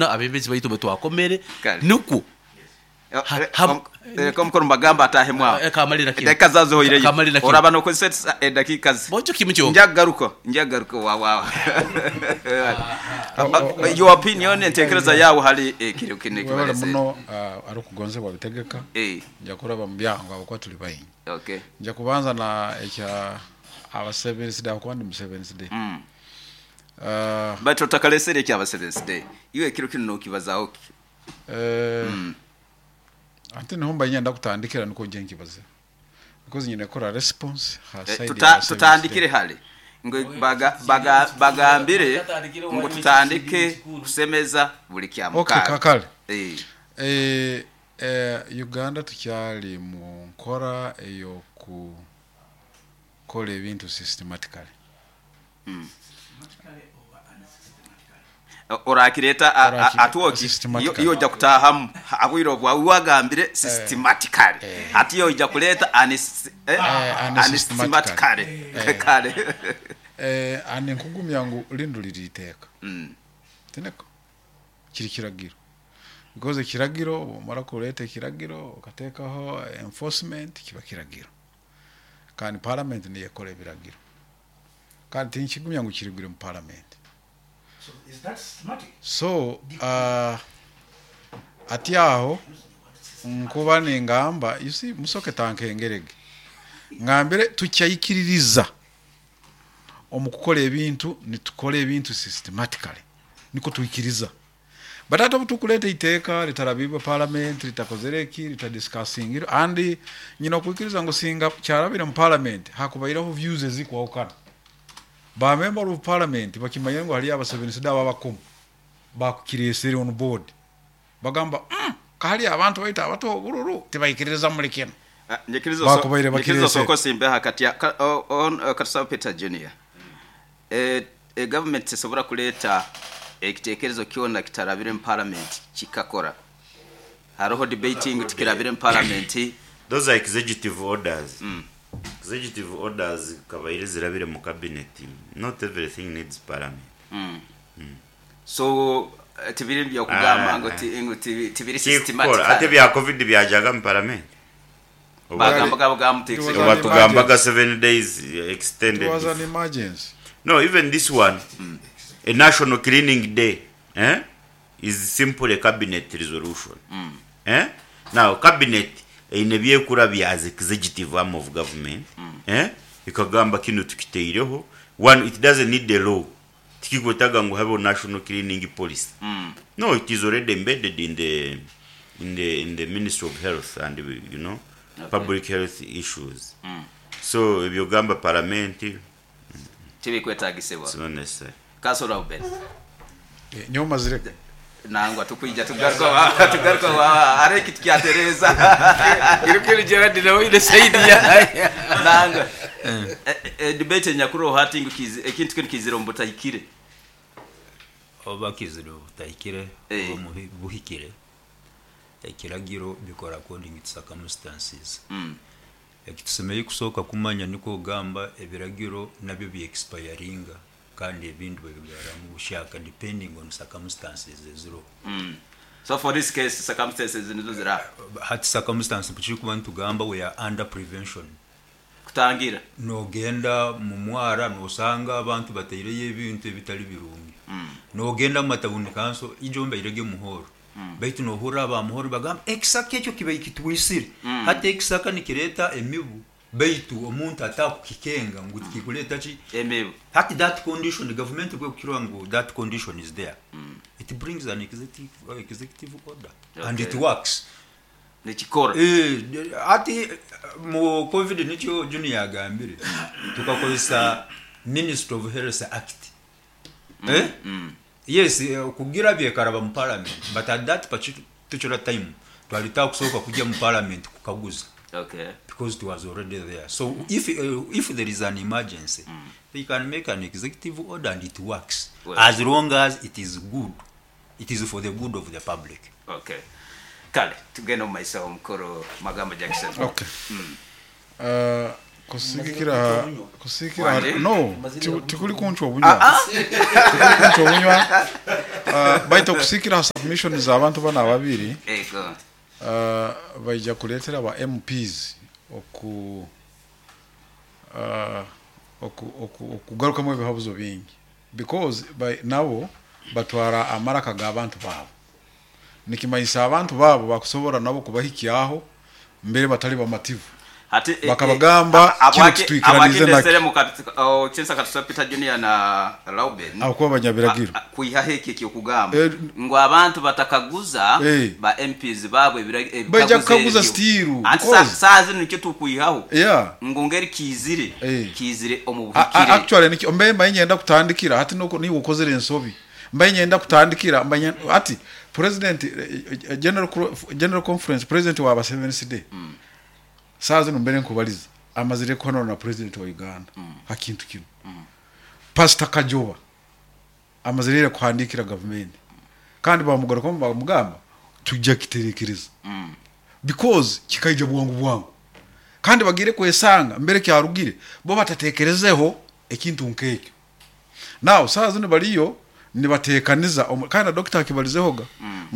Abebembezi baitu betwakomere Kale. nukwo Leka omukuru Mbagamba atahemu aho. Kamalira kinu. Edakika zawe zihoireyo. Kamalira kinu. Oraba nokozesa edakika ze. Bonjo kimu kyonka. Nja kugaruka, nja kugaruka wa wa. Your opinion, entekereza yawe hali ekiro kinu Webale ekibalesere. muno arukugonzebwa Bitegeka. Eh. Nja kuraba mu byangu habwokuba tuli baingi. Okay. Nja kubanza na ekya aba Seventh Day, habwokuba ndi mu Seventh Day. But otakalesere ekya Seventh Day. Iwe ekiro kinu nokibazaho ki? Ate niho mba nyenda kutandikira nukwo nje nkibaze. Because nyine kora response ha side ya Seventh Tutandikire Day. hali. Ngu bagambire ngu tutandike kusemeza buli kya Okay, mukaaga. kakale. Uganda tukyali mu nkora ey'okukola ebintu systematically. Orakireta atuoki Systematically. iyo ojja kutahamu abwire obwa wagambire systematically. Ati yo ojja kuleta Unsystematically. unsystematically. Kale. Ani nkugumya ngu lindu liriiteeka. Tineko kiri kiragiro. Because ekiragiro omara kuleta ekiragiro okateekaho enforcement kiba kiragiro. Kandi parliament niyo ekora ebiragiro. Kandi tinkigumya ngu kirigire mu parliament. So is that systematic? So ati aho nkuba ningamba, you see, musoke tankengerege. Ngambire tukyayikiririza omu kukora ebintu, nitukora ebintu systematically. Niko tuikiriza. But ate obu tukuleta iteeka ritarabibwa parliament, ritakozere eki, ritadiscussingire, and nyina okwikiriza ngu singa kyarabire mu parliament hakubaireho views ezikwahukana. Ba member of parliament bakimanyire ngu hariyo abasevensi dabo abakumu bakukiresere on board. Bagamba, kahali abantu baitu abato obururu tibaikiriza muri kino. Bakubaire Nyikiriza bakiresere. soko simbe hakati ya Katusaba Peter Junior. Government esobora kuleta ekitekerezo kyona kitarabire mu parliament kikakora. Haroho debating tukirabire mu parliament. Those are executive orders. Executive orders kabaire zirabire mu cabinet. Not everything needs parliament. So tibiri byo kugamba ngo ngo tibiri Kikora, ate systematic. bya COVID byajaga mu parliament. Bagamba gabo gamu It was Oba an tugambaga emergency. 7 days extended. It was an emergency. No, even this one, a national cleaning day, is simply a cabinet resolution. Now, cabinet eine byekura bya as executive arm of government. Ikagamba kino tukiteireho. One, it doesn't need the law. Tikikwetaga ngu habe national cleaning policy. No, it is already embedded in the Ministry of Health and you know, public health issues. So if you gamba parliament, Tibikwetagisibwa. it's not necessary. Kasora ube. Nyoma zireke. Nangwa tukwija tugaruka wa are kitu kya Teresa. Irukiri Gerard na wile saidi ya. Nangwa. Debate nyakuro hati ngu ekintu kinu kizira mbutahikire. Oba kizira butahikire, oba buhikire. Ekiragiro bikora according to circumstances. Ekitusemeye kusooka kumanya niko gamba ebiragiro nabyo bi expiringa kandi ebintu bibigaramu bushaka depending on circumstances eziro. So for this case circumstances nizo zira. Hati circumstances kuchiri kuba ntugamba we are under prevention. Kutangira. Nogenda mu mwara nosanga abantu bateireyo ebintu ebitali birungi. Nogenda mu matawuni kanso ijomba irege muhoro. Baitu nohura aba muhoro bagamba ekisaka ekyo kiba kitwisire. Hati ekisaka nikireta emibu. Baitu omuntu atakukikenga ngu kikuleta ki emibu. Hati that condition the government bwe kukirwa ngu that condition is there. It brings an executive order. And it works. Nikikora. Ati mu COVID nikyo Junior agambire tukakozesa Ministry of Health Act. Yes, kugira byekaraba mu parliament, but at that particular time twalita kusoka kujja mu parliament kukaguza. Because it was already there. So if there is an emergency, they can make an executive order and it works. Well. As long as it is good. It is for the good of the public. Okay. Kale, tugenda mu maiso omukoro Magamba Jackson. Okay. Kusikira no, tikuli kunchwa obunywa. Tikuli kunchwa obunywa. Baitu okusiikira ha submission z'abantu banu ababiri, Ego. Baija kuleetera ba MPs oku okugarukamu ebihabuzo bingi because nabo batwara amaraka g'abantu baabo. Nikimanyisa abantu baabo bakusobora nabo kubahikyaho mbere batali bamativu. Hati eh, Bakabagamba kinu habwaki titwikiranize nakyo. ndesere Kinsa Katusa Peter Junior na Lauben Ahabwokuba banyabiragiro. Kwihaho ekyo ekyokugamba ngu abantu batakaguza ba MPs baabo Baija ebikaguzo kukaguza ebyo. still Anti because saaha zinu nikyo tukwihaho ngu ngeri kiizire, kiizire omu buhikire. Actually nikyo mbe mbaye nyenda kutandikira hati nuko niiwe okozere ensobi. Mbaye nyenda kutandikira mbaye hati president general conference president wa ba Seventh Day saaha zinu mbere nkubaliza amazire kuhanura na president wa Uganda ha kintu kinu. Pastor Kajoba amazire ira kuhandiikira gavumenti kandi bamugarukamu bamugamba tujja kiterekereza because kikaija bwangu bwangu kandi bagiire kwesanga mbere kyarugire bo batatekerezeho ekintu nk'ekyo. Now saaha zinu bariyo nibateekaniza kandi na doctor akibalizehoga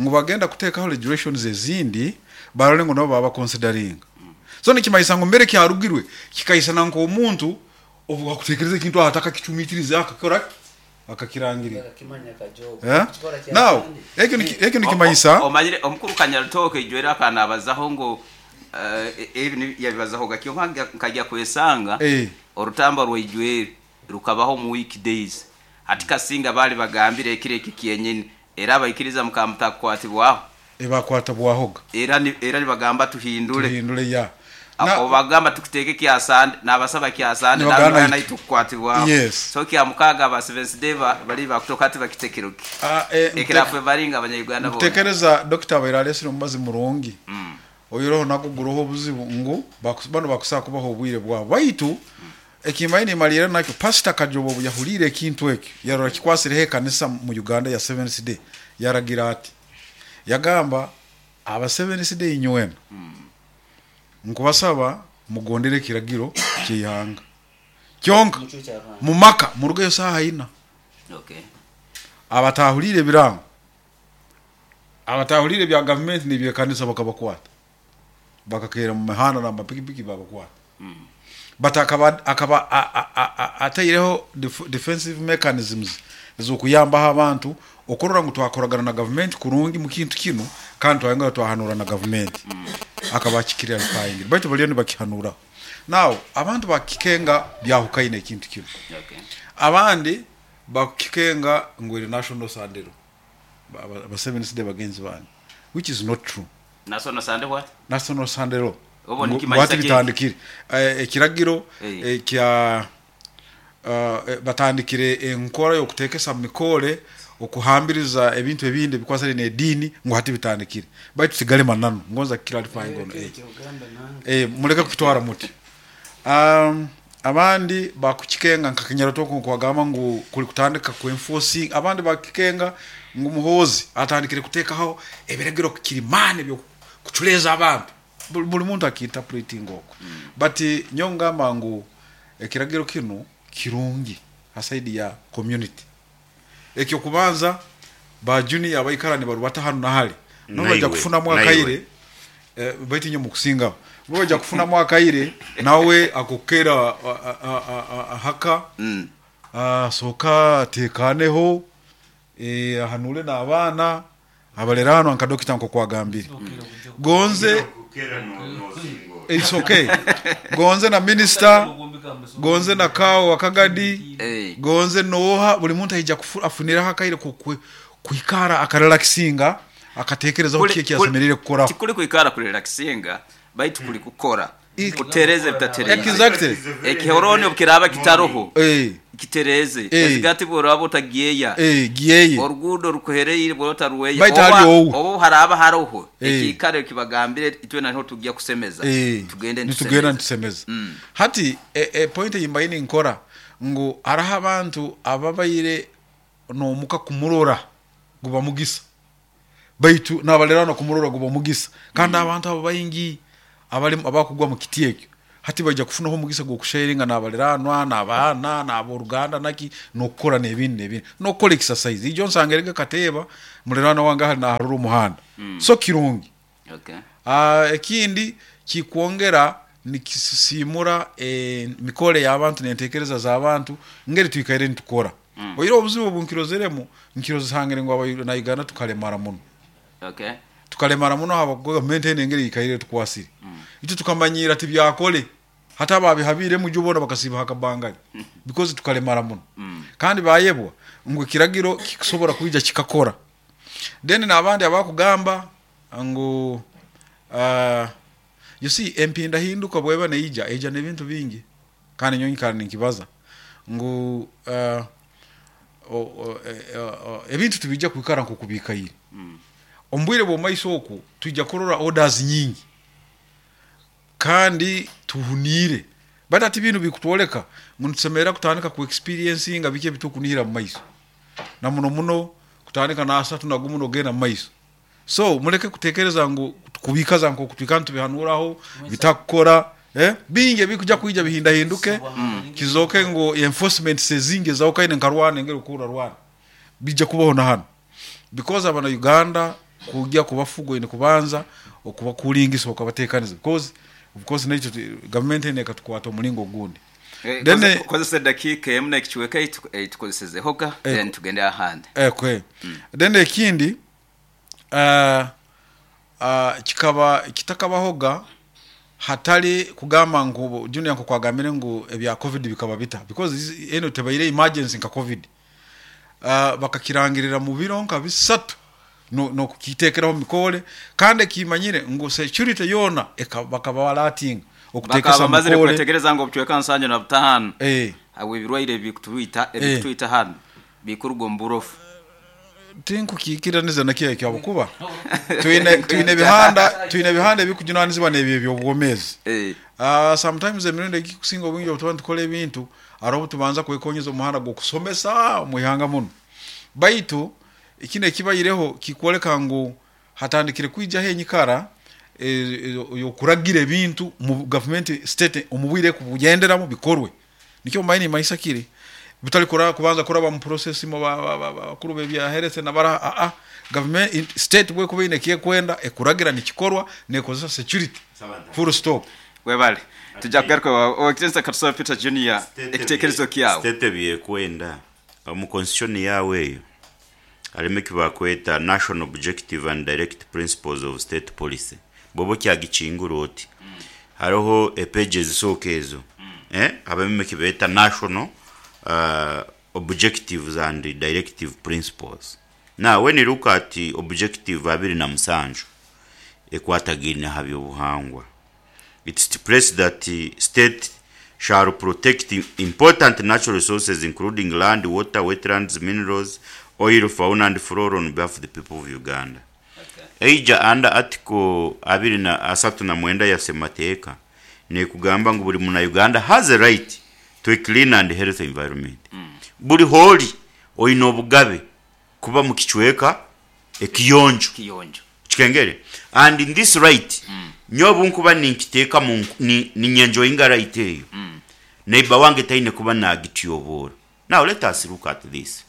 ngu bagenda kuteekaho regulations ezindi barole ngu nabo baba consideringa. So nikimanyisa ngu mbere kyarugirwe kikaisana nk'omuntu obu akuteekereza ekintu aho atakakicumitirize akakora ki? Akakirangirira. Eh? Now ekyo nikimanyisa Omanyire omukuru Kanyarutooke ijo era akanabazaho ngu ebi yabibazahoga kyonka nkajya kwesanga orutamba rwaijwere rukabaho mu weekdays. Hati kasinga bali bagambire ekiro eki kyenyini era abaikiriza mukamutakukwatibwaho. Ebakwata bwahoga. Era nibagamba tuhindure. Tuhindure ya. Na Obagamba tukiteeke kya Sande, nabasaba kya Sande Nibagamba nabagamba naitu. Tukukwatibwaho. Yes. So kya mukaga aba Seventh Day bali bakutoka hati bakitekeroki. Ekirafe baringa abanya-Uganda boona. Nkutekereza dokita abaire alesire omubazi murungi. Oiroho nagwo guroho obuzibu ngu banu bakusaa kubaho obwire bwabo. Baitu ekimbaire nimaliira nakyo Pastor Kajoba obu yahuliire ekintu ekyo yarora kikwasireho ekanisa mu Uganda ya Seventh Day yaragira ati yagamba aba Seventh Day inywena nkubasaba mugondere ekiragiro ky'eihanga kyonka mumaka murugeyo saaha ina. Abatahuliire ebirango abatahuliire ebya gavumenti n'ebyekanisa bakabakwata bakakeera mu mihanda n'amapikipiki babakwata. But akaba ataireho defensive mechanisms ez'okuyambaho abantu okurora ngu twakoragana na gavumenti kurungi mu kintu kinu kandi twayongera twahanura na gavumenti akaba akikirarifying baitu baliyo nibakihanuraho. Now abantu bakikenga byahukaine ekintu kinu. Abandi bakukikenga ngu eri national Sunday law aba Seventh Day bagenzi bange which is not true. National Sunday what? National Sunday law. Obo Ngu nikimanyisa hati ki? bitandikire ekiragiro kya batandikire enkora y'okuteekesa mu mikore okuhambiriza ebintu ebindi ebikwasire n'ediini ngu hati bitandikire baitu tigale mananu ngonza clarifying on muleke kukitwara muti. Abandi bakukikenga nka Kinyarutoko nkuwagamba ngu kuli kutandika ku enforcing abandi bakikenga ngu Muhoozi atandikire kuteekaho ebiragiro kirimani ebyokuculeeza abantu buli muntu akiinterpreting okwo. But nyowe ngamba ngu ekiragiro kinu kirungi ha side ya community. Ekyokubanza ba junior abaikara nibarubata hanu na hali nabo baija Naiwe, kufunamu naiwe. akaire baitu inywe mukusingaho bo baija kufunamu akaire nawe akukera haka soka ateekaneho ahanure n'abaana abaleraanwa nka dokita nkokwagambire. Gonze it's okay. Gonze na minister, gonze na kawo wakagadi, gonze noha buli muntu aija afuniraho akaire kwikara akarelaxinga akatekerezaho kiki ekyasemerire kukoraho. Tikuli kwikara kurelaxinga baitu kuli kukora kutereze bitatereze. Exactly. Ekihoroni obukiraba kitaroho kitereze ezigati bworaba otagyeya Gyeye. Oruguudo rukuhereire bwota ruweya Baitu hali owu. Oba haraba haroho ekikaro kibagambire itwe naho tujya kusemeza tugende nitugenda nitusemeza. Nitusemeza. Hati point eyimbaine ninkora ngu hariho abantu ababaire n'omuka kumurora guba mugisa baitu nabalerano kumurora guba mugisa kandi abantu abo baingi abali abakugwa mu kiti ekyo. Hati baija kufunaho omugisa gw'okusharinga n'abaliraanwa, n'abaana, n'ab'oruganda naki, n'okukora n'ebindi n'ebindi. N'okukora exercise. Ijo nsangirege kateeba muliraanwa wange ahali naharura omuhanda. So kirungi. Okay. Ekindi kikwongera nikisisimura emikore y'abantu n'entekereza z'abantu ngeri twikaire nitukora. Oihireho obuzibu obu nkirozeremu, nkirozesangire ngu abana Uganda tukalemara muno. Okay. Tukalemara muno habwokuba gavumenti enu engeri eikaire etukwasire. Itwe tukamanyiira tibyakole. Hati ababihabiiremu ijo boona bakasiiba ha kabangali because tukalemara muno. Kandi bayebwa ngu ekiragiro kikusobora kwija kikakora. Then n'abandi abakugamba ngu you see empindahinduka bweba neija, eija n'ebintu bingi. Kandi nyowe nyikara ninkibaza ngu ebintu tibiija kwikara nk'oku biikaire. Omu bwire bw'omu maiso oku, twija kurora orders nyingi kandi tuhuniire. Baitu hati binu bikutwoleka ngu nitusemerra kutandika ku experiencinga biki ebitukunihira mu maiso. Na muno muno kutandika n'asatu na gumu n'ogenda mu maiso. So muleke kutekereza ngu kubikaza nk'oku twikara nitubihanuraho bitakukora, bingi ebikuja kwija bihindahinduke, kizooke ngu enforcement ezingi ezahukane nka Rwanda engeri okuhurra Rwanda bijja kubaho na hanu. Because abana Uganda kujya kubafuga oine kubanza okubakuringisa okabatekaniza because of course naitwe gavumenti enu ekatukwata omulingo ogundi. Then Kozesa edakiika emu n'ekicweka ei tukozesezehoga then tugende ahandi. Okay. Then ekindi kikaba kitakabahoga hatali kugamba ngu Junior nk'oku agambire ngu ebya covid bikaba bita because enu tebaire emergency nka covid. Bakakirangirira mu biro nka bisatu n'okukiteekeraho mikole kandi ekimanyire ngu security yoona bakaba balatinga okuteekesa Bakaba bamazire mikole. kwetegereza ngu obucweka 75 habw'ebirwaire ebikutwita hanu bikuruga omu burofu. Tinkukiikiraniza na kyo ekyo habwokuba twine twine ebihanda twine ebihanda ebikujunanizibwa n'ebyo eby'obwomeezi. Sometimes emirundi egikusinga obwingi obu tuba nitukora ebintu haroho obu tubanza kwekonyeza omuhanda gw'okusomesa omu ihanga munu. Baitu kinu ekibaireho kikwoleka ngu hatandikire kwijaho enyikara ey'okuragira ebintu mu gavumenti state omu bwire ekubugenderamu bikorwe. Nikyo mumanyire nimanyisa kiri butali kubanza kuraba mu process mu bakuru b'ebya health na baraha aa gavumenti state bwekuba eine ekyekwenda ekuragira nikikorwa nekozesa security full stop. Webale. Tujja kugaruka Owekitinisa Katusabe Peter Junior ekitekerezo kyawe. State ebyekwenda omu constitution yaawe eyo harimu eki bakweta National Objective and Direct Principles of State Policy. Bwoba okyagikingura oti, hariho epeegi ezisooka ezo, habamu eki beeta National Objectives and Directive Principles. Now when you look at Objective 27 ekwatagaine aha by'obuhangwa, it stipulates that state shall protect important natural resources including land, water, wetlands, minerals, oil, fauna and flora on behalf of the people of Uganda. Eija under article 39 ya Ssemateeka nekugamba ngu buri muna Uganda has a right to a clean and healthy environment. Buri hoori oine obugabe kuba mu kicweka ekiyonjo. Kiyonjo. Kikengere? And in this right, nyowe obu nkuba ninkiteeka mu ninyenjoyinga right eyo, neighbour wange taine kuba nagityoboora. Now let us look at this.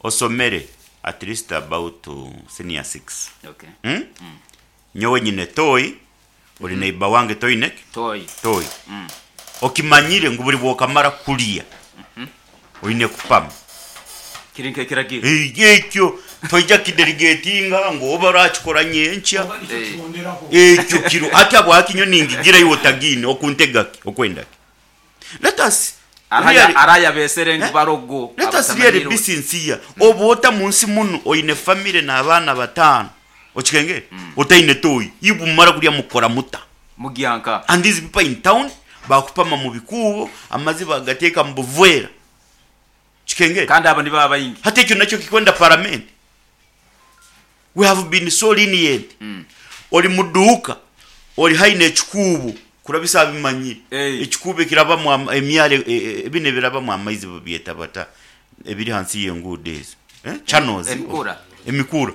Osomere at least about senior six. Okay. Nyowe nyine toyi, ori neighbour wange toine ki? Toyi. Toyi. Okimanyire ngu buri bwokamara kurya oine kupama. Kiri nk'ekiragiro. Ekyo toija kidelegatinga ngu oba orakikora nyenkya. Ekyo kiro. Hati habwaki nyowe ningigira iwe otagiine okuntega ki? Okwenda ki? Let us really, Arayabesere ngu barogo let us really be sincere. Oba ota munsi munu oine family n'abaana bataano okikengere otaine toyi, iwe mumara kurya mukora muta? Mugyanka. And these people in town bakupama mu bikuubo, amazi bagateeka mu buveera. Kikengere? Kandi abo nibaba baingi. Hati ekyo nakyo kikwenda paramenti? We have been so lenient. Ori mu duuka, ori haihi n'ekikuubo, kurabisa abimanyire. Ekikuubo ekirabamu emyaro, binu ebirabamu amaizi babyeta bata? Ebiri hansi y'enguudo ezo. Channels. Emikura. Emikura.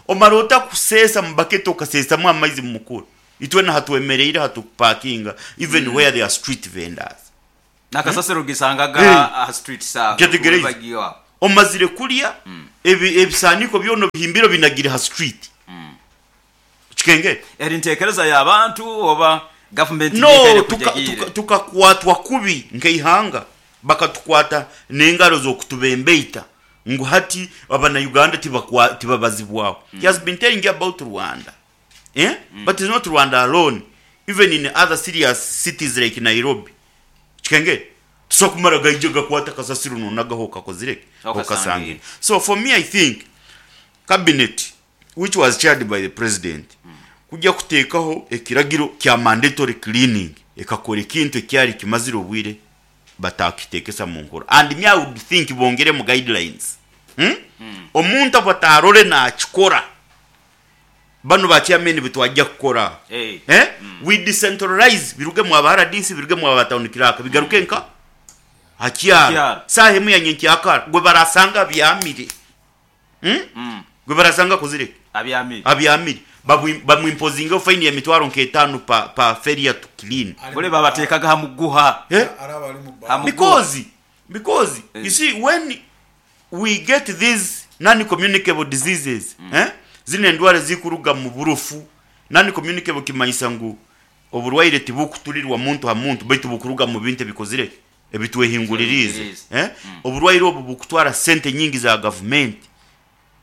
Omara ota kuseesa mu baketi okaseesamu amaizi mu mukura? Itwena hatwemereire hatukupakinga even where there are street vendors. Nakasasiro gisangaga Eh. aha streets aho Nkyetegereize. bagiyo aho. Omazire kulya, ebisaaniko byona obihimbire obinagire ha street. Okikengere? Eri ntekereza y'abantu oba gavumenti No, yekaire tuka, kujagiire? tukakwatwa kubi nk'eihanga, bakatukwata n'engaro z'okutubembeita ngu hati abana-Uganda tibabazibwaho. He has been telling you about Rwanda. Eh? But it's not Rwanda alone. Even in other serious cities like Nairobi. Kikengere? Tusobola kumara gaija gakwata kasasiro nonagaho okakozire ki? Okasangire. Okasangire. So for me I think cabinet which was chaired by the president kujya kuteekaho ekiragiro kya mandatory cleaning ekakora ekintu ekyari kimazire obwire batakitekesa mu nkora, and me I would think bongeremu guidelines. Omuntu abatarore nakikora banu ba chairman bitwajja kukora. Eh. Eh? We decentralize biruge mu aba RDC, biruge mu aba town clerk, bigaruke nka hakyaro. Hakyaro. Saha emu ya nyenkyakara gwe barasanga abyamire. Gwe barasanga kuzireka. Abyamire. Abyamire. Bamwimpozinga fine ya mitwaro nk'etaano pa failure to clean. Bole babateekaga ha muguha. Eh? Araba ali mu Ha muguha. Because you see when we get these non-communicable diseases, Zino endwara zikuruga mu burufu. Non-communicable kimanyisa ngu oburwaire tibukuturirwa muntu ha muntu, baitu bukuruga mu bintu ebikozire ebitwehinguririze. Ebitwehinguririze. Oburwaire obu bukutwara sente nyingi za government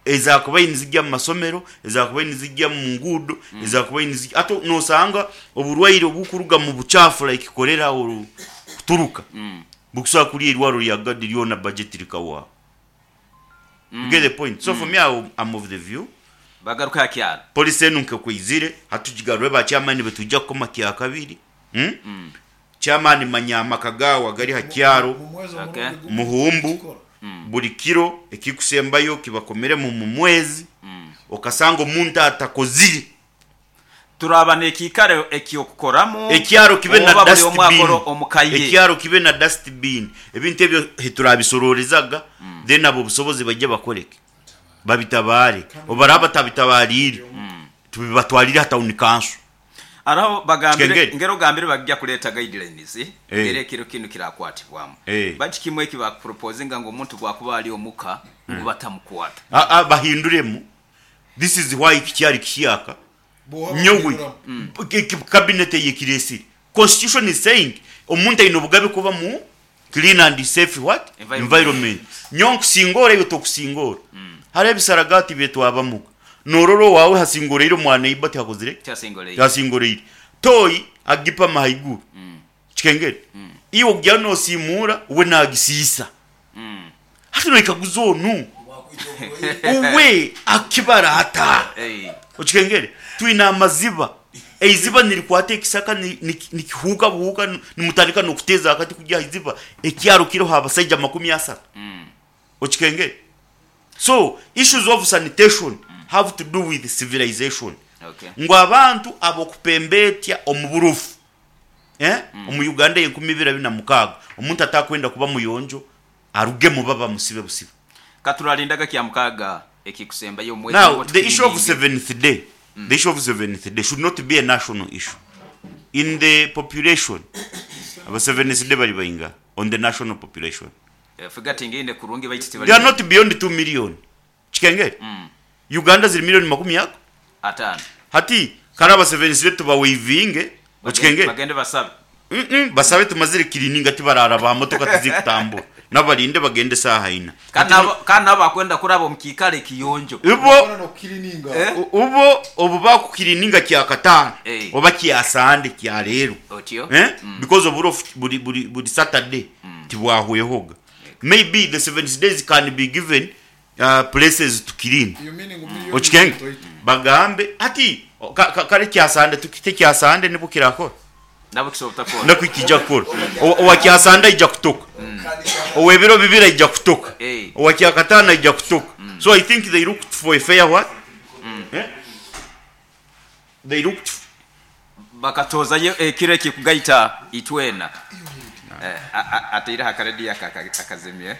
ezakuba nizijya mu masomero, ezakuba nizijya mu ngudo, ezakuba nizijya ato nosanga oburwaire obukuruga mu buchafu like cholera oru kuturuka. Bukusobola kulya irwaro lya gadi lyona budget likawa. You get the point. So for me I'm of the view bagaruka hakyaro. Police enu nkekwizire hatujigarwe ba chairman betujja kukoma kya kabiri. Chairman manyama kagawa gari hakyaro. Mu mwezi Okay. omurundi gumu Muhumbu. kikora. Buli kiro ekikusembayo kibakomere mu mwezi. Okasanga omuntu atakozire. Turaba n'ekiikaro ekyokukoramu. Ekyaro kibe na Oba buli omwe dustbin. akora omukaye. Ekyaro kibe na dustbin. Ebintu ebyo heturabisoroorezaga, then abo obusobozi bajye bakoreke. Babitabare. Obaraba tabitabarire. Tubibatwarire ha town council. Araho bagambire, Kengeri. ngero gambire bajja kuleta guidelines, ngero ekiro kinu kirakwatibwamu. Bati kimwe eki bakuproposinga ngu omuntu gwakuba ali omuka, ngu batamukwata. Bahinduremu. This is why kikyari kishiyaka. Bw'oba Nyowe. bahinduramu. Cabinet eyekiresire. Constitution is saying omuntu aine obugabe kuba mu clean and safe what? Environment. Environment. Nyo nkusingora iwe tokusingora. Hari ebisaragati byetwabamuka. Nororo wawe hasingoreire omwana iba tihakozire? Tihasingoreire. Tihasingoreire. Toyi agipa mahaiguru. Kikengere. Iwe ogya nosimura we nagisiisa. Hati noikaguza onu. Uwe akibara ata. Okikengere. Twine amaziba. Eiziba nirikwata ekisaka nikihuuka buhuuka nimutandika nokuteza akati kujya iziba. Ekyaro kiriho abasaija makumi asatu. Okikengere. So issues of sanitation have to do with civilization. Ngu abantu abokupembetya omu burufu. Omu Uganda enkumi ibiri abiri na mukaaga. Omuntu atakwenda kuba muyonjo aruge mu baba musibe busibe. Katuralindaga kya mukaga ekikusembayo omwezi Now, ngo the issue of tukiringe. seventh day, the issue of seventh day should not be a national issue. In the population, aba seventh day bari bainga on the national population. Forgetting ine kurungi baiti They are not beyond 2 million. Kikengere. Uganda ziri million makumi yako. Atano. Hati karaba seventh day tuba wavinge. Okikengere. Bagende basabe. Basabe tumazire kilininga tibarara ba motoka tizikutambura. Nabalinde bagende saha ina. Kana bakwenda kuraba mukikale kiyonjo. Ubo Bana no kilininga. Ubo obuba ku kilininga kya katano. Oba kya sande kya lero. Otyo. Because of buri Saturday tibwahwehoga. Maybe the 7 days can be given places to clean. You meaning million Okikenge. toito. Bagambe ati kare kya sande tukite kya sande nibo kirakora. Nabo kisobota kora. Nako ikija kora. Owa kya sande ija kutoka. Owa biro bibira ija kutoka. Owa kya katana ija kutoka. So I think they looked for a fair what? They looked bakatoza ye kire kikugaita itwena. Ateira hakaredi akazimye.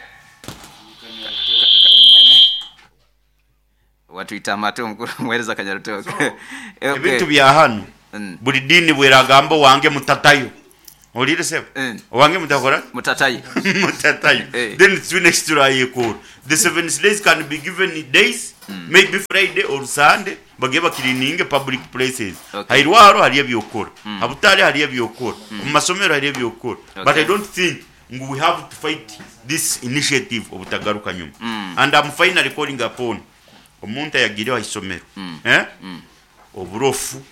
Watuita amate omukuru muhereza Kanyarutoke. Ebintu bya hano. Buli diini bw'eragamba owange mutatayo. Owulire sebo? Owange mutakora ki? Mutatayo. Mutatayo. Then twine eki turayekoora. The seventh days can be given days, maybe Friday or Sunday, bagende bakiriininge public places. Okay. Ha irwaro hariyo eby'okukora, ha butare hariyo eby'okukora, omu masomero hariyo eby'okukora. But I don't think ngu we have to fight this initiative obutagaruka nyuma. And am finally calling upon omuntu ayagiireho aha isomero, eh, oburofu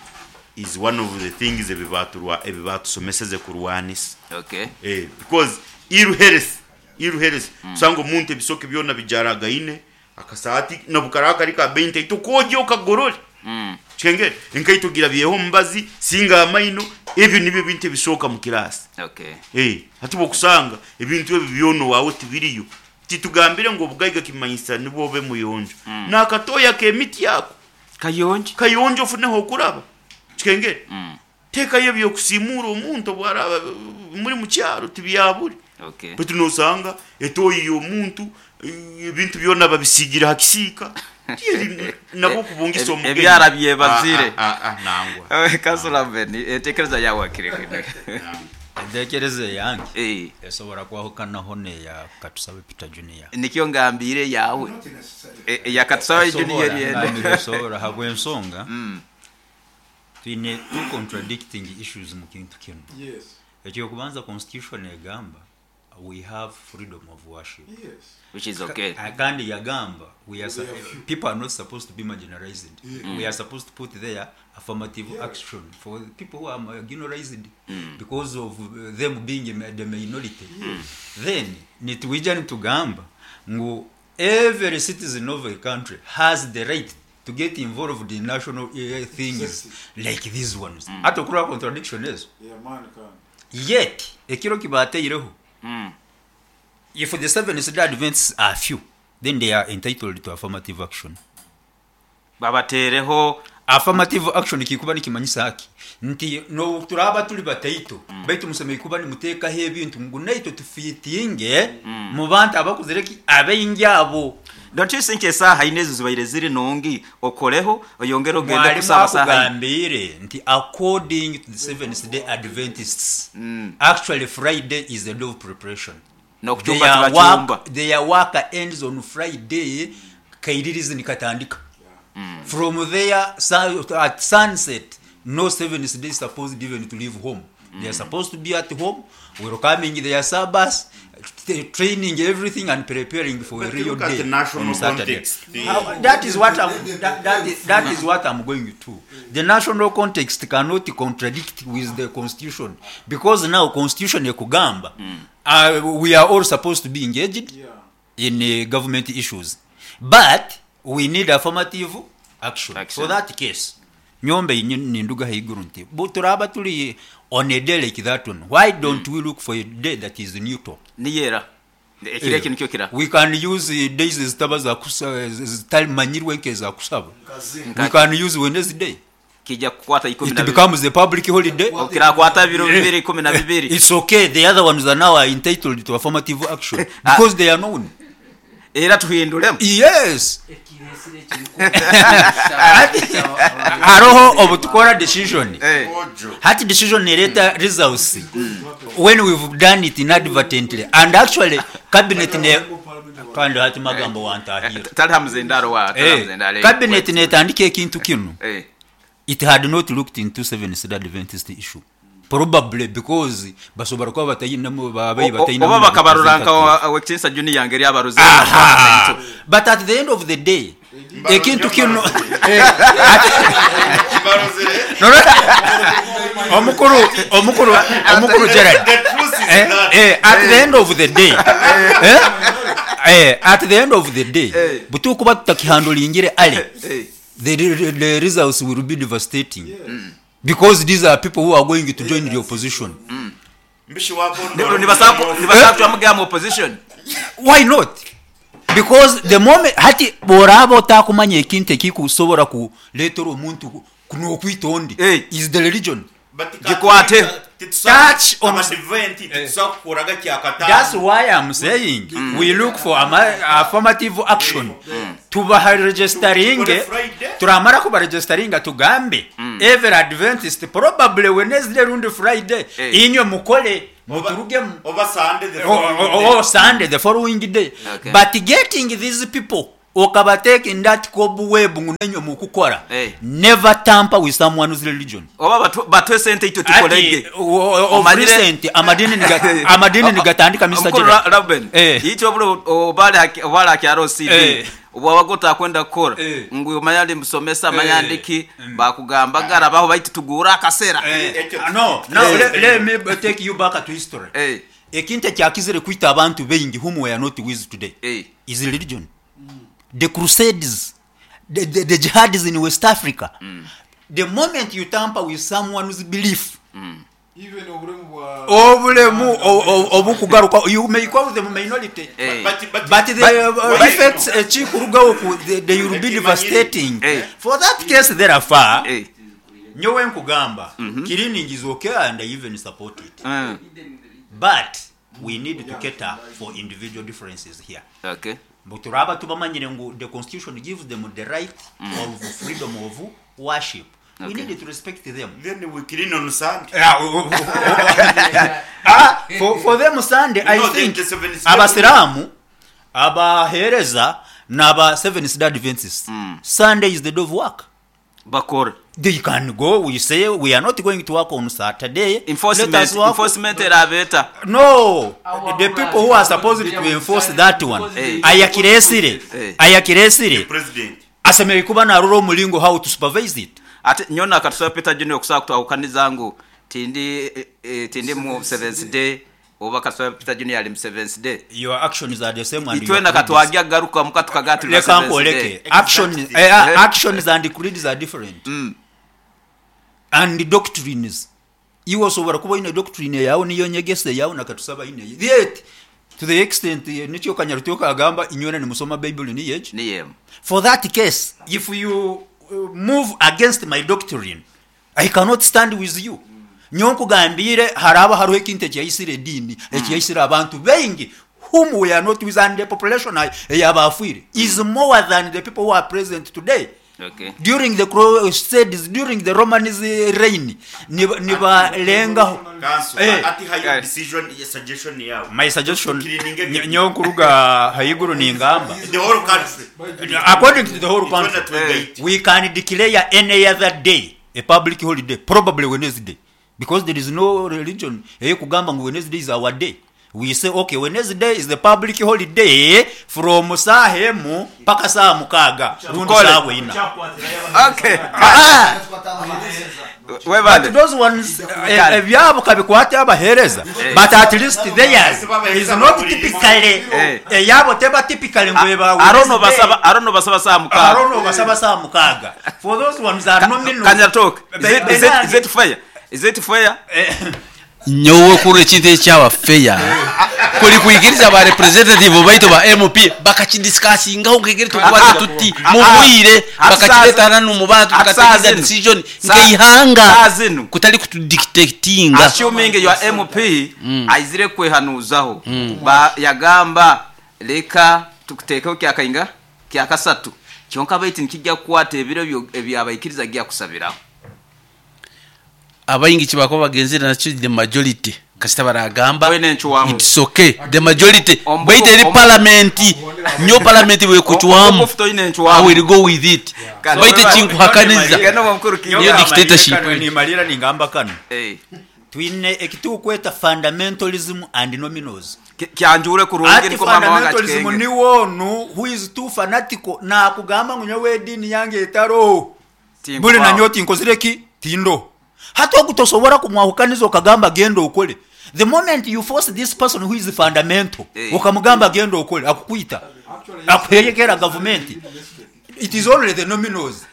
is one of the things ebi baatusomeseze kurwanisa. Okay. Eh, because ill health, ill health, osanga omuntu ebisoke byona bijaragaine, akasaati n'obu karaabe kari ka bei ntaito kwogya okagorore. Kikengere, enkaito girabyeho omubazi, singa amaino, ebyo nibyo ebintu ebisooka mu kiraasi. Okay. Eh, hati bw'okusanga ebintu ebyo byona owaawe tibiriyo, titugambire ngu obugaiga kimanyisa nibwo obe muyonjo. N'akatooyi ak'emiti ako Kayonjo. Kayonjo ofune h'okuraba. Kikengere, teekayo eby'okusiimuura omuntu obu araaba muri mu kyaro tibyabure. Okay. Baitu noosanga etooyi y'omuntu ebintu byona babisiigire ha kisiika, tiyeri nabwo kubungisa omugenyi. Ebyara byebazire. Ah, ah, ah, nangwa. Kansula Beni, entekereza yaawe hakiri kinu. Entekereza eyange Eh. esobora kwahukanaho n'eya Katusabe Peter Junior. Nikyo ngambiire eyaawe. Not necessarily. Eya Katusabe Junior Esobora, eri ende. ngambire esobora habw'ensonga twine two contradicting issues mu kintu kinu. Yes. Eky'okubanza constitution egamba we have freedom of worship. Yes. Which is okay. Kandi yagamba we are people are not supposed to be marginalized. We are supposed to put there affirmative action for the people who are marginalized because of them being the minority. Then nitwija nitugamba ngu every citizen of a country has the right to get involved in national things like these ones. Hati okurora contradiction ezo. Yeah, man, can. Yet ekiro kibateireho if the Seventh Day Adventists are few, then they are entitled to affirmative action. Babateereho. Affirmative action kikuba nikimanyisa ki? Nti n'obu turaaba turi bataito, baitu musemeriire kuba nimuteekaho ebintu ngu naitwe tufiitinge mu bantu abakuzire ki? Abaingi abo. Don't you think esaaha ina ezo zibaire ziri nungi okoreho oyongere ogende Mwarimu kusaba saaha ina? akugambiire nti according to the Seventh Day Adventists, actually Friday is a day of preparation. N'okucumba Their tibacumba. work ends on Friday, kairirizi nikatandika. From there, at sunset, no Seventh Day is supposed even to leave home. They are supposed to be at home, welcoming their Sabbath, training everything and preparing for a But real look at day the national on Saturday. context. How, that is what I'm, that, that is, that is what I'm going to. The national context cannot contradict with the constitution, because now constitution ekugamba, we are all supposed to be engaged in government issues, but we need affirmative action. Action. For that case, nyombe ninduga haiguru nti bu turaba turi on a day like that one, why don't we look for a day that is neutral? Niyera. Ekiro eki nikyo kira. We can use days ezitaba za kusa, zitamanyirwe nk'eza kusaba. Nka- We can use Wednesday. Kijja kukwata ikumi It na bibiri. becomes a public holiday. Kirakwata ebiro bibiri ikumi na bibiri. It's okay. The other ones are now entitled to affirmative action because they are known. Era tuhinduremu. Yes. Haroho obutukora decision. Hati decision nereta results when we've done it inadvertently, and actually cabinet ne kandi hati magambo wantahira. Tali hamuzindaro wa, tali hamuzindaro. Cabinet netandika ekintu kinu. It had not looked into Seventh Day Adventist issue. Probably because basobora kuba batayinamu babaye batayinamu. Oba bakabarura nka Owekitiinisa Junior ngeri abaruze. Aha. But at the end of the day, ekintu kinu No, no. Omukuru, omukuru, omukuru Gerald. The truth is that. At the end of the day, at the end of the day, butukuba tutakihandulingire ale, the results will be devastating. Because these are people who are going to join the opposition. Mbishi wako Nibasaba mu opposition. Why not? Because the moment hati boraba otakumanya ekintu ekikusobora kuleetera omuntu n'okwita ondi is the religion. Gikwate. Touch on- That's why I'm saying we look for affirmative action. Tubaha registering, Tukore Friday. Turamara kubaregisteringa tugambe every Adventist probably Wednesday rundi Friday inywe mukole muturugemu. Oba Sunday the Or, following day. or Sunday the following day. Okay. But getting these people okabateka in that cobweb ngu nenywe mukukora, never tamper with someone's religion. Oba batwe sente itwe tukolege. Ati, of recent amadini nigatandika, Mr. Mukuru Gerard. Ruben, itwe buli obali hakyaro CD, obwabaga otakwenda kukora, ngu omanya ndi musomesa, manya ndiki, bakugamba garabaho baitu tugura akasera. No, no, let me take you back to history. Ekintu ekyakizire kwita abantu baingi whom we are not with today is religion. The crusades, the jihads in West Africa. The moment you tamper with someone's belief, Even obulemu bwa obulemu obukugaruka, you may call them minority, But but the effects ekikurugaho they will be devastating. For that case therefore, nyowe nkugamba, cleaning is okay and I even support it, but we need to cater for individual differences here. But turaba tubamanyire ngu the constitution gives them the right of freedom of worship, we need to respect them. Then we clean on Sunday. Yeah, for them Sunday, I No, think the Seventh Day. abasiramu, abahereza n'aba Seventh Day Adventists, Sunday is the day of work. Bakora. They can go, we say we are not going to work on Saturday. Enforcement, Let us work. enforcement erabeta. No, the people who are supposed to enforce that one, ayakiresire, ayakiresire President. asemerere kuba narora omulingo how to supervise it. Ate nyona akatusaba Peter Junior okusaba kutwahukaniza ngu tindi mu Seventh Day, oba katusaba Peter Junior ali mu Seventh Day. Your actions are the same and your Itwena creeds. katwagya garuka muka tukagatira Leka Seventh nkwoleke. Day. Actions and creeds are different and doctrines. Iwe osobora kuba oine doctrine yawe niyo nyegesa yawe nakatusaba ine, yet to the extent nikyo Kanyarutoka agamba inywena nimusoma Bible niyo egi. Niyo. For that case, if you move against my doctrine, I cannot stand with you. Nyo nkugambire haraba hariho ekintu ekyaisire ediini, ekyaisire abantu baingi whom we are not with, and the population eyabafwire is more than the people who are present today. During the crusades, during the Roman reign, nibalengaho. Council, ati hayo decision, suggestion yawe. My suggestion, Cleaning everything. nyo nkuruga haiguru ningamba, The whole country. According to the whole It's not country, that we wait. we can declare any other day a public holiday, probably Wednesday, because there is no religion eyekugamba ngu Wednesday is our day. We say okay, Wednesday is the public holiday from saa emu paka saa 6 rundi Tukole. saa 4. Webale. But those ones, ebyabo kabikwate abahereza, but at least theirs is not typically, eyabo teba typically ngo eba Arono Wednesday. basaba, arono basaba saa 6. Arono basaba saa 6. For those ones are nominal. Kanyatoke, is it fair? Is it fair? Nyowe kuri ekintu ekyaba fair kuri kwikiriza ba representative baitu ba MP bakakidiscussingaho nkegere tukwata tuti mubwire, bakakiretana mu bantu, tukategereza decision nkeihanga kutali kutudictatinga. Assuming your MP aizire kwehanuzaho, ba yagamba leka tukutekeho kyakainga kyakasatu kyonka baitu nikijja kukwata ebiro ebyabaikiriza gya kusabiraho. Abaingi kibako bagenzera nakyo the majority kasita baragamba Wene nchuwamu. it's okay, the majority baita eri parliament, nyo parliament bwe kuchwamu. Ombufu toine nchuwamu. I will go with it. Kale, baita weba- chinkuhakaniza. Gano mukuru kinyo. Niyo dictatorship. Nimalira ningamba kano. Twine ekitukweta fundamentalism and nominals. Kyanjure kurungi Ati niko mama wanga fundamentalism chikenge. ni wonu who is too fanatical na kugamba ngu nyowe edini yange etaro. Tinkubaho. Buli nanyo tinkozire ki tindo. Hata okutosobora kumwahukaniza okagamba genda okole. The moment you force this person who is fundamental, ukamugamba genda okole, akukwita. Akuheyekera government. It is only the nominals.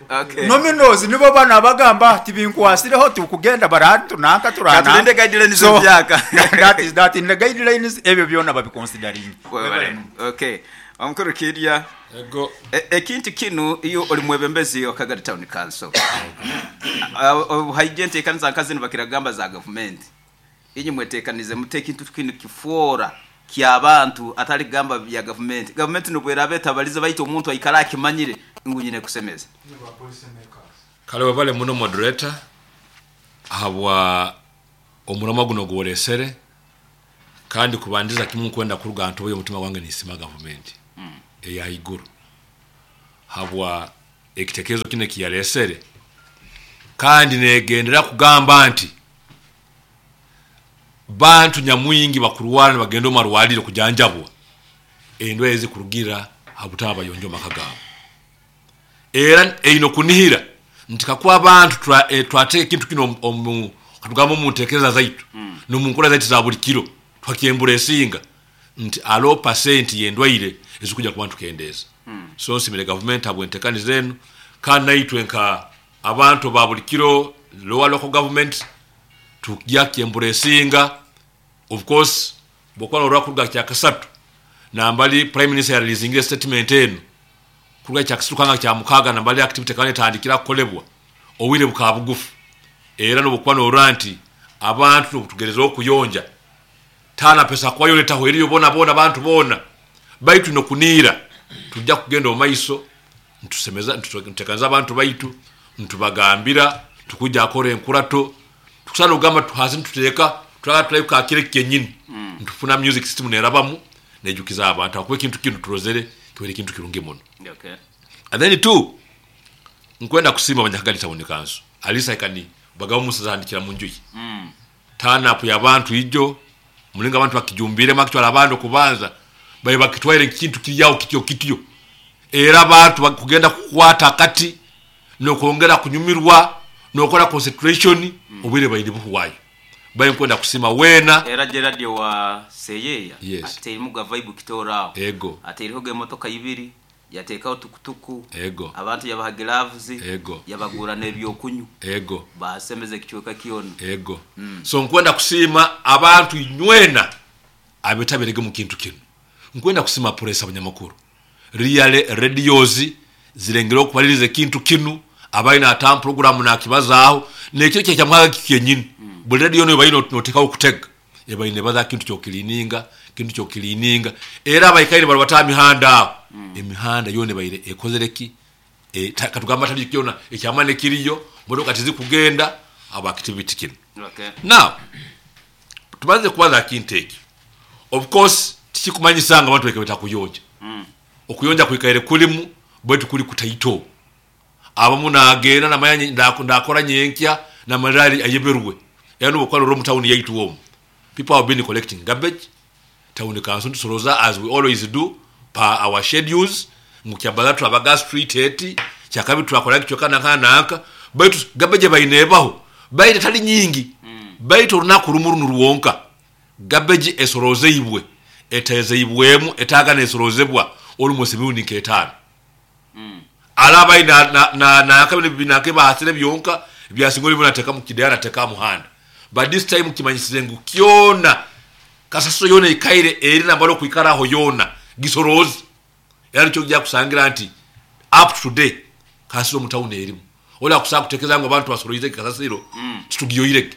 Nominals nibo bana bagamba tibinkwasireho tukugenda barantu nanka turana. Katulinde guidelines So, ebyaka. that is that in the guidelines ebyo byona babiconsidering. Webale. Okay. Omukuru Kirya. Ego. Ekintu kinu iyo oli mwebembezi wa Kagari Town Council. Haije nteekaniza nkazi nibakiragamba za government. Inyi mweteekanize mute ekintu kinu kifuora ky'abantu atali kugamba bya gavumenti. Gavumenti nobweraba etabalize, baitu omuntu aikara akimanyire ngu nyine kusemeza. Kale webale muno moderator habwa omurama guno gworesere, kandi kubandiza kimu nkwenda kuruga ntoboye omutima gwange nisima gavumenti eya iguru habwa ekitekerezo kino ekiyaresere, kandi negendera kugamba nti bantu nyamwingi bakurwara nibagenda omu marwariro kujanjabwa endwaire ezikurugira ha butaba bayonjo maka gaabo. Era eine okunihira nti kakuba abantu twateeka ekintu kino katugamba omu ntekereza zaitu n'omu nkora zaitu za buli kiro, twakyembura esinga nti alowo pasenti y'endwaire ezikuja kuba ntukendeeza. So nsimire gavumenti habw'entekaniza enu, kandi naitwe nka abantu ba buli kiro lower local government tukya kyembura esinga. Of course bwokuba norora kuruga kyakasatu nambali prime minister yareleasingire statement enu kuruga kyakasatu kanga kya mukaga nambali activity kandi etandikira kukolebwa obwire bukaba bugufu. Era nobukuba norora nti abantu nobutugereza okuyonja tana pesa kwayo letaho eriyo bona bona abantu bona, baitu nokuniira tujja kugenda omu maiso ntusemeza ntutekanza abantu baitu ntubagambira tukujja akora enkurato tukusana ogamba tuhasi ntuteeka tulaga tulayo kakire kenyini ntufuna music system nerabamu nejukiza abantu akuba ekintu kinu turozere kibaire ekintu kirungi muno. And then two, nkwenda kusiima Abanyakagadi Town Council alisa ikani bagabo musazandikira mu njuyi turn up y'abantu ijo mulinga abantu bakijumbire makitwala abantu kubanza baye bakitwaire ekintu kiryawo kityo kityo, era abantu bakugenda kukwata kati nokwongera kunyumirwa nokora concentration obwire baine buhwayo. Baye nkwenda kusima wena era Gerard wa Seyeya. Yes. Aterimu ga vibe kitorao. Ego. Ateriho ge motoka ibiri yatekaho tukutuku. Ego. Abantu yabaha gloves. Ego. Yabagura n'ebyokunyu. Ego. Basemeze kichweka kiona. Ego. So nkwenda kusima abantu nywena abetabirege mu kintu kino. Nkwenda kusima press abanyamakuru real radios zirengera okubaliriza ekintu kinu abalina ata program nakibazaaho nekyo kye kyamwaga kyenyini. Buli radio no bayina notekawo kutega ebayine baza kintu kyokilininga kintu kyokilininga, era abayikaire bali bata mihanda aho. Emihanda yone bayire ekozereki katugamba tali kyona ekyamane kiriyo motoka tizikugenda aba activity kino. Now tubanze kubaza kintu eki, of course tikikumanyisanga abantu bekebeta kuyonja. Okuyonja kwikaire kulimu bwetu kuli kutaito abamu nagenda namanya ndakora nyenkya na malali ayeberwe era nobukwalo ro town yaitu omu people have been collecting garbage town council tusoroza as we always do pa our schedules mukyabala twabaga street eti kyakabi twakola kichoka nanka baitu garbage bainebaho baite tali nyingi. Baitu olunaku lumu ruwonka garbage esorozeibwe etezeibwemu etaga nesorozebwa almost mirundi nk'etaano. Alaba na kabine binake bahasire byonka byasingoli bunateka mu kidaya nateka muhanda, but this time kimanyisize ngu kyona kasaso yona ikaire eri nambalo kuikaraho yona gisorozi era nicyo kujja kusangira nti up to today kasiro mu town erimu ola kusaba kutekeza ngo abantu basoroize kasasiro titugiyoireke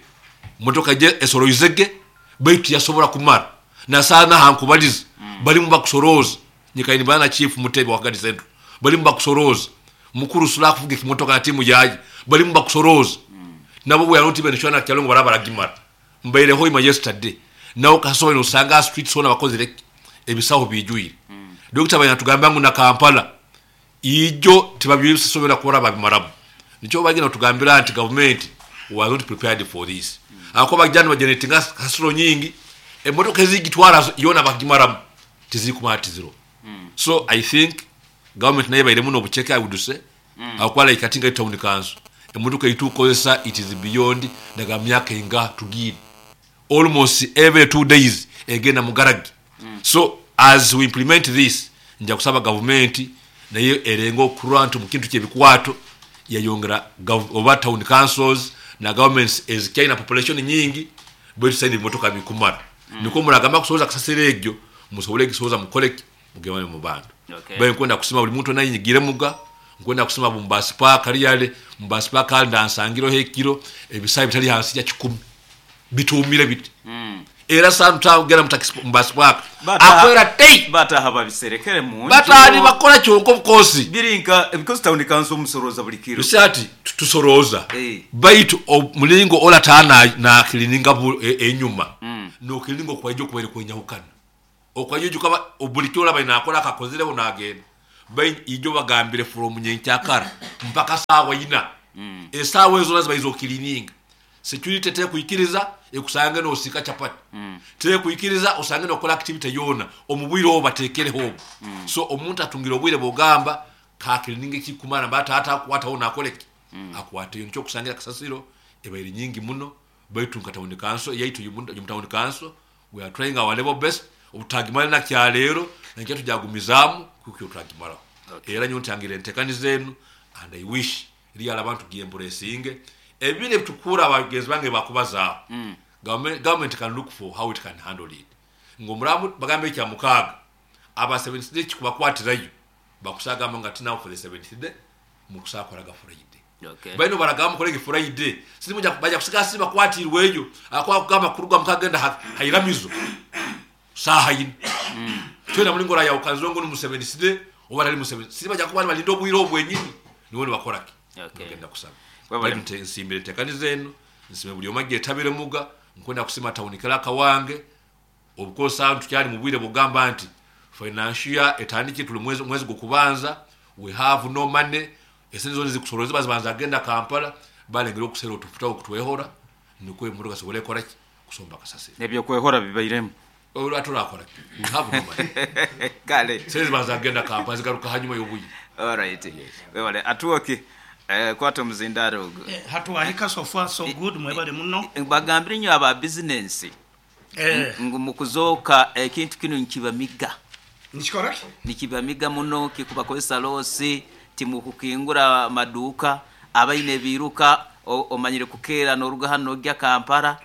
motoka je esoroizege baitu yasobora kumara nasana hankubaliza balimu bakusoroza nyikaini bana chief Mutebe wa Kagadi Central balimu bakusoroza mukuru sula kuvuga kimotoka na timu yaje balimu bakusoroza nabo bwe yanoti benishwana kyalongo barabara gimara mbaire hoima yesterday nawo kasobola nosanga street sona bakozere ebisaho bijuire. Dr. Bayana ngu na Kampala ijo tibabyisobera kora babimaramu nico bagina tugambira nti government was not prepared for this. Ako bajana bageneratinga kasoro nyingi emotoka ezigitwara yona bagimaramu tizikumata zero. So I think government naye baire muno obucheke I would say akwala ikatinga town council emotoka itukozesa it is beyond daga myaka inga tugire almost every 2 days egenda mugaragi. So as we implement this nja kusaba government naye erengo okurantu mu kintu kyebikwato yayongera oba town councils na governments ezikyaina population nyingi bwetu saidi motoka bikumara. Niko muragamba kusoza kasasira egyo musobole gisoza mukoleke mugemane mu bantu. Baye nkwenda kusima buli muntu nayinyigire muga nkwenda kusima bumbasi park aliyale bumbasi park ndansangiro hekiro ebisayi bitali hansi ya 10 bitumire biti. Era sanu tagenda mu taxi mu bus park akwera tei. Bataha babiserekere mu nju. Bataha nibakora kyonka of course. Biri nka because town council musorooza buli kiro. You see ati tusorooza baitu omulingo orataha na cleaninga enyuma no cleaninga okwaija okubaire kwenyahukana. Okwaija ojuka buli kiro oraba nakora akakozireho nagenda. Baitu ijo bagambire from nyenkyakara mpaka saawa ina. Esaawa ezo zona zibaize okilininga. Security tekwikiriza ekusange nosiika chapati, tekwikiriza osange nokora activity yoona omu bwire obu batekereho obu. So omuntu atungire obwire bwogamba ka cleaninge ekikumara mba taata akwataho nakoreki akwateyo. Nikyo okusangira kasasiro ebaire nyingi muno, baitu nka town council yaitu omu town council we are trying our level best obu tutagimara na kyaleero nankya tujagumizaamu kuhikya obu turagimaraho. Era nyowe ntangire entekaniza enu and I wish Real abantu gyemburesinge ebiro ebitukura abagenzi bange bakubazaaho government can look for how it can handle it ngu omuramu bagambe ekya mukaaga aba seventh day kikubakwatirayo bakusagamba nga now for the seventh day mukusakoraga Friday. Baino baragamba mukorege Friday sirimu baja kusigara siri bakwatirweyo ahakuba kugamba kuruga mukagenda hairamizo saaha ina twena mulingo orayahukaniza ngu ni mu seventh day oba tali mu seventh siri baja kuba nibalinda obwire obu bwenyini nibo nibakora ki? Nibagenda kusaba. Baitu nsiimire entekaniza enu, nsiime buri omwe agyetabire muga, nkwenda kusiima town clerk wange, of course hanu tukyari mu bwire bwokugamba nti financial year etandikire turi mu mwezi gw'okubanza, we have no money, esente zoona ezikusorozebwa zibanza kugenda Kampala, balengera okusera otufuta okutwehora nikwo emotoka zisobole kukora ki? Kusomba kasasiro. N'ebyokwehora bibairemu. Ati orakora ki? We have no money. Kale. Sente zibanza kugenda Kampala zigaruka hanyuma y'obwire. Alright. Webale. Atwoki, kwata omuzindaaro ogwo. Hati wahika so far so good mwebale muno. Bagambire inyo aba bizinensi ngu mukuzooka ekintu kinu nikibamiga. Nikikora ki? Nikibamiga muno, kikubakozesa loosi, timukukingura maduuka, abaine ebiiruka omanyire kukeera noruga hanu nogya Kampala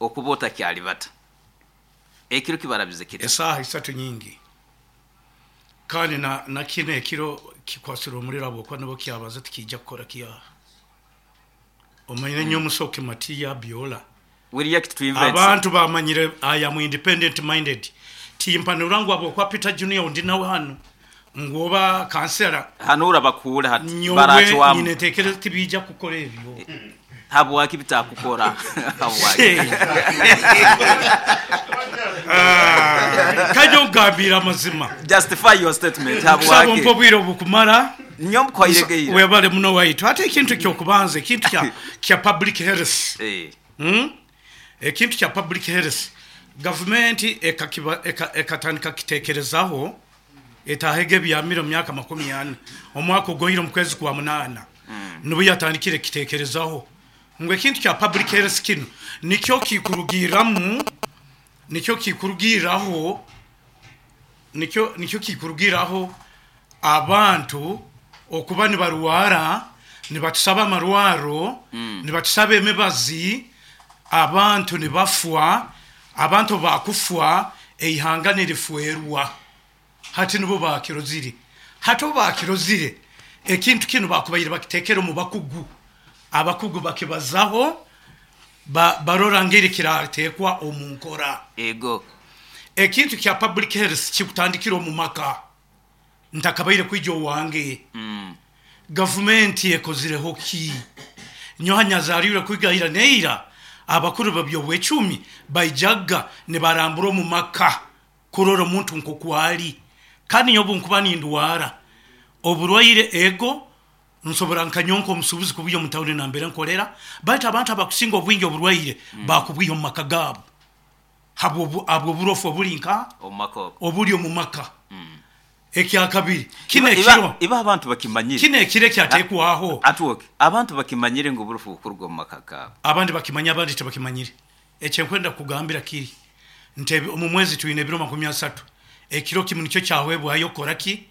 okuba otakyalibata. Ekiro kibarabize kita? Esaaha isatu nyingi kandi na kinu ekiro kikwasirwe omuliro habwokuba nubwo kyabanza tikiija kukora ki aha. Omanyire nyomusoke Matiya Biola. We react to events. Abantu bamanyire I am independent minded. Timpanura ngu habwokuba Peter Junior ndi nawe hanu ngu oba kansela. Hanura bakuhure hati Nyowe baracwamu. nyine entekereza tibiija kukora ebyo. Habwaki bitakukora? Habwaki? Kanya ongambiire amazima. Justify your statement. Nkusaba Habwaki? ompe obwire obukumara. Nyowe mkuhaire gaira. Webale muno waitu. Hati ekintu ky'okubanza ekintu kya public health. Ekintu kya public health gavumenti ekatandika kukitekerezaho etahege ebyamire omu myaka makumi ana. Omwaka oguhoire omu kwezi kwa munaana nubwo yatandikire kukitekerezaho ngu ekintu kya public health kinu nikyo kikurugirramu, nikyo kikurugirraho, nikyo nikyo kikurugirraho abantu okuba nibarwara, nibatusaba amarwaro, nibatusaba emibazi, abantu nibafwa, abantu obu bakufwa eihanga nirifwerwa. Hati nubwo baakirozire. Hati obu baakirozire, ekintu kinu baakubaire bakitekere omu bakugu, abakugu bakibazaho, barora ngeri kiratekwa omu nkora. Ego. Ekintu kya public health kikutandikira omu maka. Ntakabaire kwija owange. Gavumenti ekozireho ki? Nyowe nyazariirwe kwiga ira n'eira, abakuru b'eby'obwecumi baijaga nibarambura omu maka kurora omuntu nk'oku ali. Kandi nyowe obu nkuba nindwara oburwaire, ego nsobora nka nyowe nk'omusuubuzi kubwiha omu tawuni nambere nkorera, baitu abantu abakusinga obwingi oburwaire bakubwiha omu maka gaabo habw'oburofu obuli nka obuli omu maka. Ekyakabiri, kinu ekiro. Ibo abantu bakimanyire. Kinu ekiro ekyatekwaho. Atwoke, abantu bakimanyire ngu oburofu bukuruga omu maka gaabo. Abandi bakimanya abandi tibakimanyire. Ekyenkwenda kukugambira kiri nti omu mwezi twine ebiro makumi asatu, ekiro kimu nikyo kyahwebwayo kukora ki?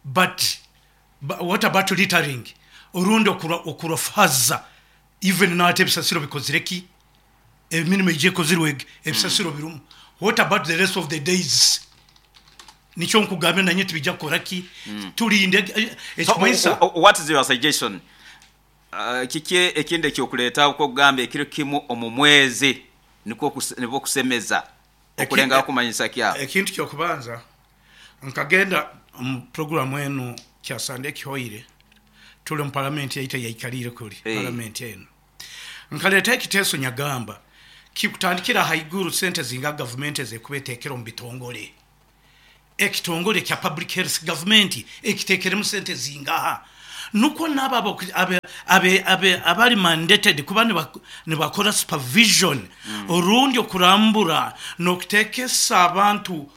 But what about littering rundi okurofaza even nahati ebisasiro bikozire ki? Emirimo egyo ekozirwe ebisasiro birumu. What about the rest of the days? Nikyo nkugambira nanye tibija kukora ki? Tulinde ekikumanyisa. So what is your suggestion? Kiki ekindi ekyokuleetaho kwokugamba ekiro kimu omu mwezi? Nikwo nibwo kusemeza okulengaho kumanyisa kyaho. Ekintu kyokubanza, nkagenda omu programu enu kyasande ekihoire, tuli omu palamenti yaitu eyaikarire kuri palamenti enu. Nkaleta ekiteeso nyagamba kikutandikira haiguru sente zinga gavumenti ezekuba etekere omu bitongole. Ekitongole kya public health gavumenti ekitekeremu sente zingaha, nukwo nabo abali mandated kuba nibakora supervision rundi okurambura n'okutekesa abantu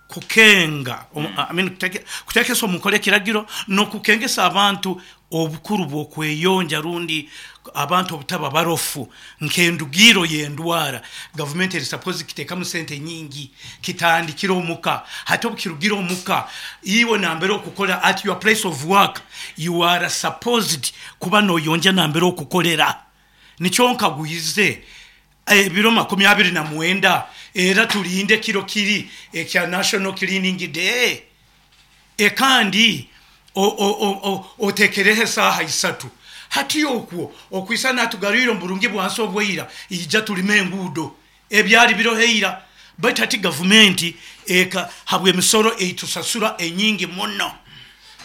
kukenga, I mean, kutekesa omu nkora ekiragiro n'okukengesa abantu obukuru bw'okweyonja rundi abantu obutaba barofu nk'endugiro y'endwara. Gavumenti eri suppose kitekamu sente nyingi, kitandikire omuka. Hati obukirugire omuka, iwe nambere okukora at your place of work, you are supposed kuba noyonja nambere okukorera. Nikyo nkagwize ebiro 29, era tulinde kiro kiri ekya National Cleaning Day. Ekandi otekereho esaaha 3. Hati okwo okwisa natugarwire omu burungi bwansi obweira, ija tulime enguudo ebyali biroho eira. Baitu hati gavumenti eka habw'emisoro eitusasura enyingi muno,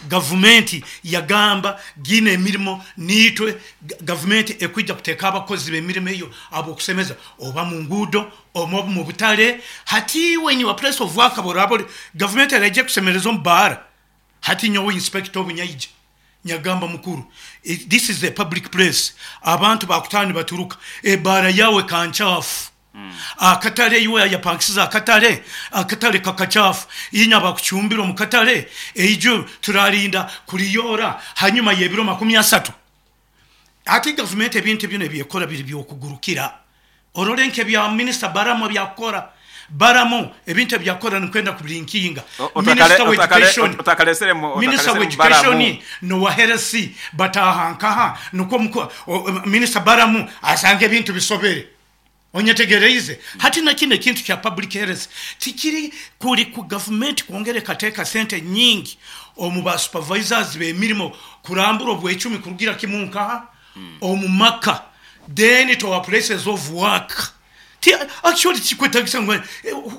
gavumenti yagamba gina emirimo niitwe gavumenti ekwija kuteeka abakozi b'emirimo eyo ab'okusemeza oba mu nguudo oba mu butale. Hati iwe in your place of work boraba ori gavumenti eraija kusemereza omu baara. Hati nyowe inspector obunyaija nyagamba mukuru, this is a public place, abantu bakutaha nibaturuka, ebaara yawe kankyafu, akatale iwe ayapangisize akatale, akatale kakakyafu, inya bakucumbira omu katale, eijo turarinda kuriyora hanyuma y'ebiro 30. Hati gavumenti ebintu bino ebyekora biri byokugurukira. Orole nk'ebya minisita Baramu ebyakukora. Baramu ebintu ebyakukora nikwenda kubirinkinga. Minisita wa education, minisita wa education nowa health bataha nkaha, nukwo minisita Baramu asanga ebintu bisobere. Onyetegereize? Hati na kino ekintu kya public health tikiri kuri ku gavumenti kwongera ekateeka sente nyingi omu ba supervisors b'emirimo kurambura obwecumi kurugira kimu nkaha omu maka, then to our places of work. Ti actually tikikwetagisa ngu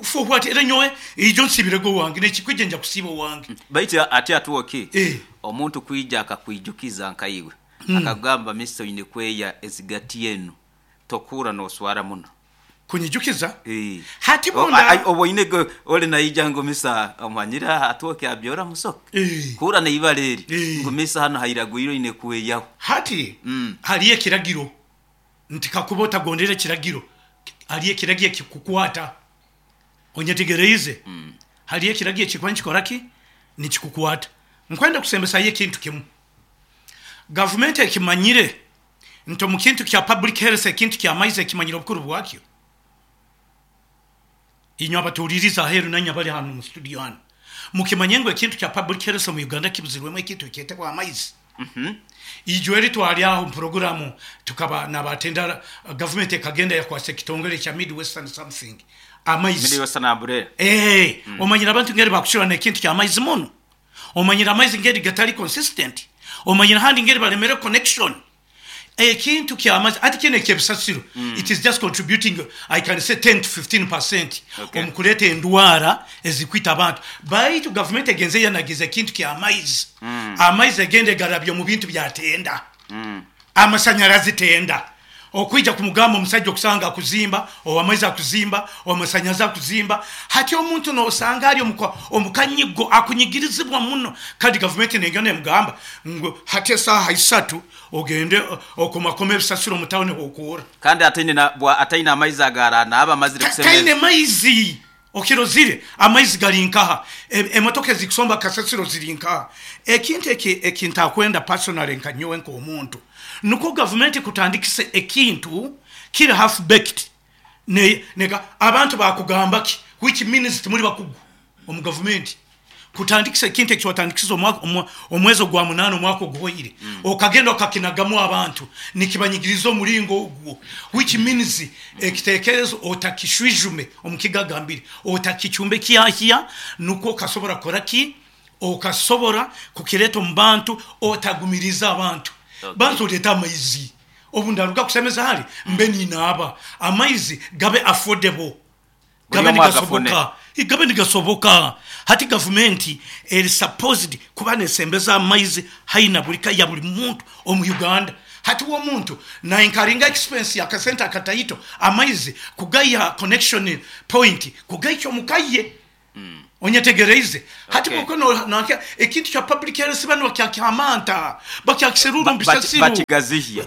for what, era nyowe ijo nsibirege owange nekikwija nja kusiiba owange. Baitu ati atwoki omuntu kwija akakwijukiza nkaiwe akakugamba mister oine kweya ezigati enu, tokuura noswara muno. Kunyijukiza? Hati bunda. Obu oine ori naija ngu misa omanyire atwoki abyora musoke. Kuura neibara eri ngu misa hanu hairagwire oine kweyaho. Hati hariyo ekiragiro nti kakuba otagondera ekiragiro, hariyo ekiragiro ekikukwata. Onyetegereize? Hariyo ekiragiro ekikuba nikikora ki? Nikikukwata. Nkwenda kusembesayo ekintu kimu. Gavumenti ekimanyire nti omu kintu kya public health, ekintu ky'amaizi ekimanyire obukuru bwakyo. Inywe abatuhuliriize aheeru nainywe abali hanu omu studio hanu, mukimanye ngu ekintu kya public health omu Uganda kibuzirwemu ekintu ekyetebwa amaizi. Ijo eri twali aho omu puroguramu tukaba nabatenda gavumenti ekagenda yakwasa ekitongole kya Mid Western something amaizi. Mid Western Umbrella. Omanyire abantu ngeri bakucurana ekintu ky'amaizi muno. Omanyire amaizi ngeri gatali consistent. Omanyire handi ngeri balemere connection. Ekintu ky'amaizi ati kinu eky'ebisasiro, it is just contributing I can say 10 to 15% omu kureeta endwara ezikwita abantu. Baitu gavumenti egenze yanagiza ekintu ky'amaizi. Amaizi egenda egarabya omu bintu byatenda. Amasanyarazi tenda. Okwija kumugamba omusaija okusanga akuzimba, ow'amaizi akuzimba, ow'amasanyazi akuzimba. Hati omuntu nosanga ari omu kanyigo akunyigirizibwa muno, kandi gavumenti nengenda nemugamba ngu hati esaaha 3 ogende okomakome ebisasiro omu tawuni h'okuura. Kandi ataine amaizi agaaranaaba amazire kusemeza. Taine maizi. Okirozire? Amaizi gari nkaha? Emotoka ezikusomba kasasiro ziri nkaha? Ekintu eki ntakwenda personally nka nyowe nk'omuntu, nukwo gavumenti kutandikisa ekintu kiri half baked, abantu bakugamba ki, which means timuri bakugu omu gavumenti. Kutandikisa ekintu eki watandikisize omwezi ogwa 8 omwaka oguhoire, okagenda okakinagamu abantu, nikibanyigiriza omuringo ogwo, which means ekitekerezo otakishwijume omu kigagambire, otakichumbe kyahya, nukwo okasobora kukora ki? Okasobora kukireta omu bantu, otagumiriza abantu. Bantu oreta amaizi. Obu ndaruga kusemeza hali mbe ninaaba, amaizi gabe affordable, Buli gabe omu agafune. nigasoboka. Gabe nigasoboka. Hati gavumenti eri supposed kuba nesembeza amaizi haina buli ka ya buli muntu omu Uganda. Hati womuntu nainkaringa expense ya kasente akataito amaizi kugaiha connection point kugaikya omukaye. Onyetegereize hati. Okay. Ekintu kya public health bano bakyakyamanta, bakyakiseruru mbisasiru. Bakigazihya.